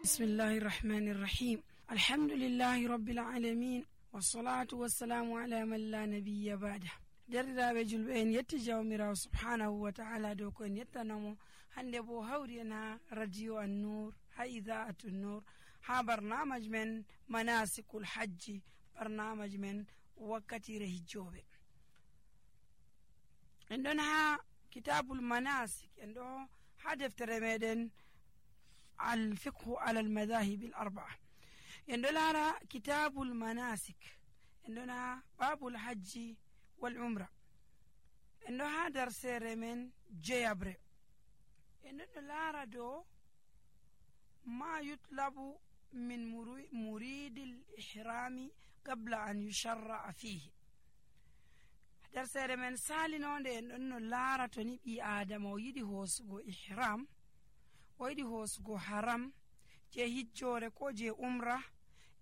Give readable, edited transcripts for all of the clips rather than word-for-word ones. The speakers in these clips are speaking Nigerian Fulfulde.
bismillahi irrahmani irrahim alhamdulillahi rabbil alamin wassalatu wassalamu ala man la nabiyya ba'da. Derɗiraɓe julɓe, en yetti jawmirawo subhanahu wa ta'ala dow ko en yettanamo hande bo hawri en ha radio an-nur ha ida'atu an-nur ha barnamaj men manasikul hajji, barnamaj men wakkatire hijjoɓe. En ɗon ha kitabul manasik, en ɗo ha deftere meɗen al-fiqhu ala al-madahib al-arba'a. En ɗo lara kitabul manasik, en ɗon ha babul hajji wal umra. En ɗo ha darsere men jeyabre. En ɗo lara do ma yutlabu min muridil ihrami qabla an yusharra'a fihi. Darsere men salinonde en ɗon no lara to ni ɓi adama o yiɗi hosugo ihram, o yiɗi hosugo haram je hijjore ko je umra,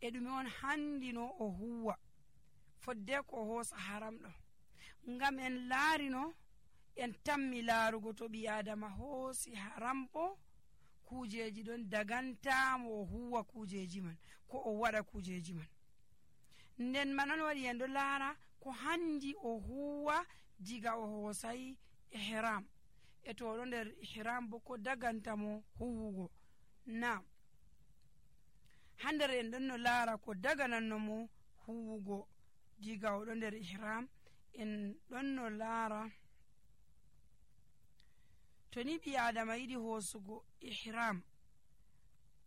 e ɗume on handino o huwa fodde ko hosa haram ɗo. Ngam en laarino, en tammi laarugo to ɓi adama hoosi haram bo kujeji ɗon dagantamo o huwa kujeji man ko o waɗa kujeji man. Nden man on waɗi en ɗo laara ko handi o huwa diga o hoosayi ihram, e to ɗo nder ihram bo ko dagantamo huwugo. Na ha nder en ɗon no laara ko daganannomo huwugo diga o ɗo nder ihram. En ɗon no laara to ni ɓi adama yiɗi hoosugo ihram,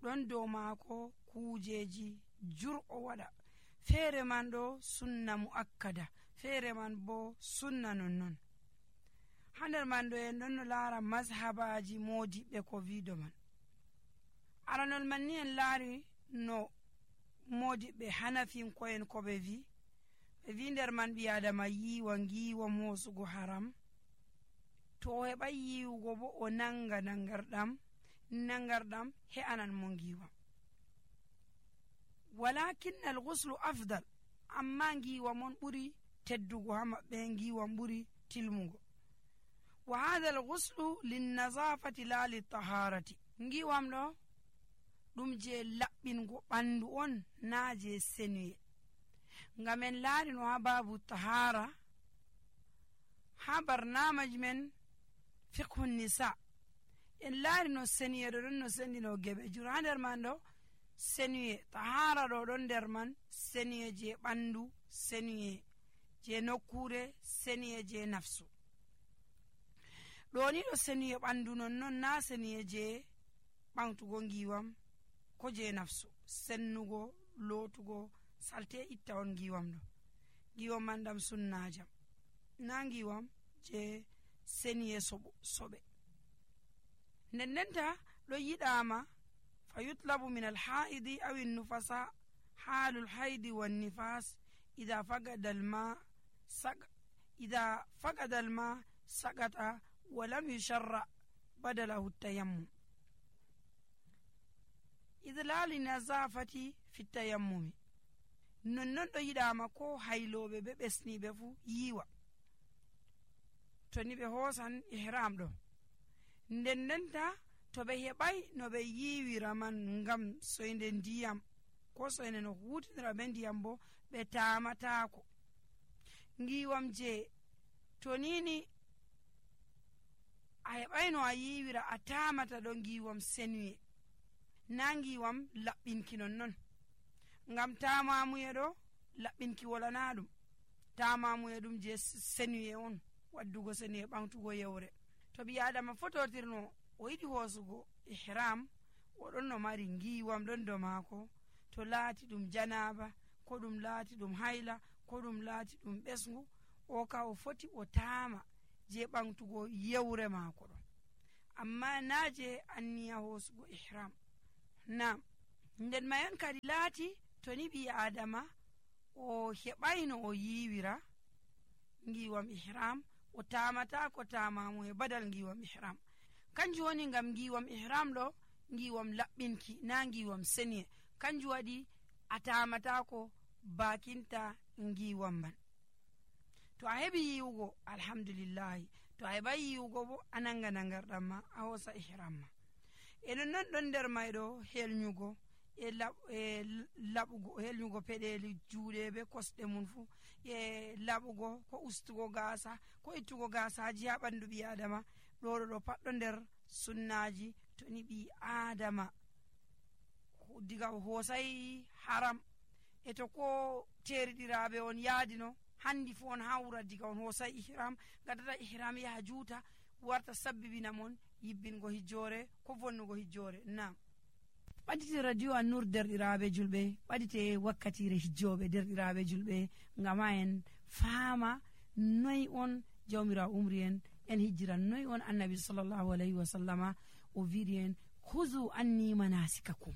ɗon dow maako kujeji jur'o waɗa. Feere man ɗo sunna mu'akkada, feere man bo sunna nonnon. Ha nder man ɗo en ɗon no laara mazhabaji modiɓɓe ko wiido man. Aranol man ni en laari no modiɓɓe hanafinko'en ko ɓe wi nder man ɓi adama yiwa ngiwam hosugo haram. To o heɓai yiwugo bo o nanga nangarɗam he'anan mo ngiwam. Walakin al-ghuslu afdal, amma ngiwam on ɓuri teddugo ha maɓɓe, ngiwam ɓuri tilmugo. Wa hadha al-ghuslu lin-nazafati la lit-taharati. Ngiwam ɗo ɗum je laɓɓingo ɓandu on, na je senuye. Ngam en laari no ha babu tahara ha barnamaj men fiqhu nisa, en laari no senuye ɗo ɗon no sendino geɓe jur. Ha nder man ɗo senuye tahara ɗo ɗon nder man, senuye je ɓandu, senuye je nokkure, senuye je nafsu. ɗo ni ɗo senuye ɓandu nonnon, na senuye je ɓamtugo ngiwam ko je nafsu. Sennugo, lotugo salte itta on ngiwam ɗo. Ngiwam man ɗam sunnajam, na ngiwam je senuye soɓe. Ndendenta ɗo yiɗama fa yutlabu min alhaidi aw nufasa halul haidi wan nifas idha faqada alma sagata wa lam yusharra badalahu tayammum idlali nazafati fi tayammumi. Nonnon ɗo yiɗama ko hayloɓe be ɓesniɓe fu yiwa to ni ɓe hoosan ihram ɗo. Ndendenta to ɓe heɓai no ɓe yiwira man ngam soyde ndiyam ko soyde no hutidira be ndiyam bo ɓe tamatako. Ngiwam je to nini a heɓai no a yiwira a tamata ɗo ngiwam senuye, na ngiwam laɓɓinki nonnon. Ngam tamamuye ɗo laɓɓinki wolana ɗum, tamamuye ɗum je senuye on, waddugo senuye ɓamtugo yewre. To ɓi adama fototirno o yiɗi hoosugo ihram, oɗon no mari ngiwam ɗon do maako, to laati ɗum janaba ko ɗum laati ɗum hayla ko ɗum laati ɗum ɓesngu, o ka o foti o tama je ɓamtugo yewre maako ɗo, amma na je anniya hoosugo ihram. Nam nden mayan kadi laati to ni ɓi adama o heɓaino o yiwira ngiwam ihram, o tamata ko tamamu e badal ngiwam ihram. Kanjum woni ngam ngiwam ihram ɗo ngiwam laɓɓinki, na ngiwam seniye. Kanjum waɗi a tamata ko bakinta ngiwam man. To a heɓi yiwugo alhamdulillahi, to a heɓai yiwugo bo a nanga nangarɗam ma a hosa ihram ma. enon non ɗon nder mayɗo helnyugo laɓugo helnyugo peɗeli juuɗe be kosɗe mum fu e laɓugo ko ustugo gasa ko ittugo gasaji ha ɓandu ɓi adama ɗo pat ɗo nder sunnaji to ni ɓi adama diga o hosai haram e to ko teriɗiraɓe on yaadino handi fu on hawra diga on hosai ihram gadata ihram yaha juuta warta sabbibina mon yibbingo hijjore ko vonnugo hijjore. Nam ɓadite radio An-Nur derɗiraɓe julɓe, ɓadite wakkatire hijjoɓe derɗiraɓe julɓe, ngam ha en faama noy on jawmirawo umri en hijjira, noy on annabi sallallahu alayhi wa sallama o wiɗi en huzu anni manasikakum.